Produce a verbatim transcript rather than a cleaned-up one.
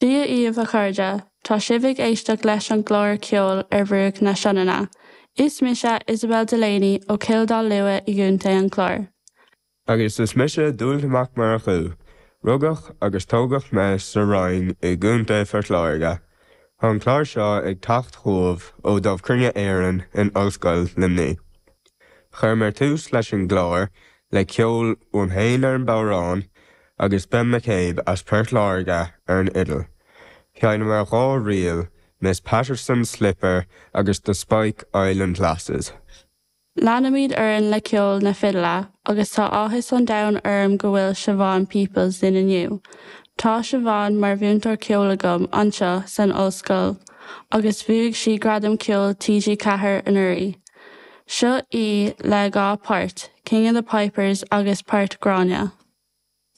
Dia daoibh a chairde, tá sibh ag éisteacht leis an gclár Ceol ar Bhruach na Sionainne. Is mise Isabel Delaney ó Chill Dá Lua i gContae an Chláir. Agus is mise Dúilte Mac Murchú, rugadh agus tógadh mé sa Rinn i gContae Phort Láirge. Tá an clár seo ag teacht chugaibh ó Dámh Cruinne Éireann in Ollscoil Luimnigh. Chuireamar tús leis an gclár le ceol uaim féin ar an bodhrán agus Ben McCabe as Port Láirge ar an fhidil. Sheinneamar dhá ríl, Miss Patterson's Slipper agus The Spike Island Lasses. Leanaimid orainn le ceol na fidile, agus tá áthas an domhain orm go bhfuil Siobhán Peoples linn inniu. Tá Siobhán mar mhúinteoir ceoil agam anseo san ollscoil agus bhuaigh sí gradam ceoil TG Ceathair anuraidh. Seo í le dhá pháirt, King of the Pipers agus Páirt Gráinne.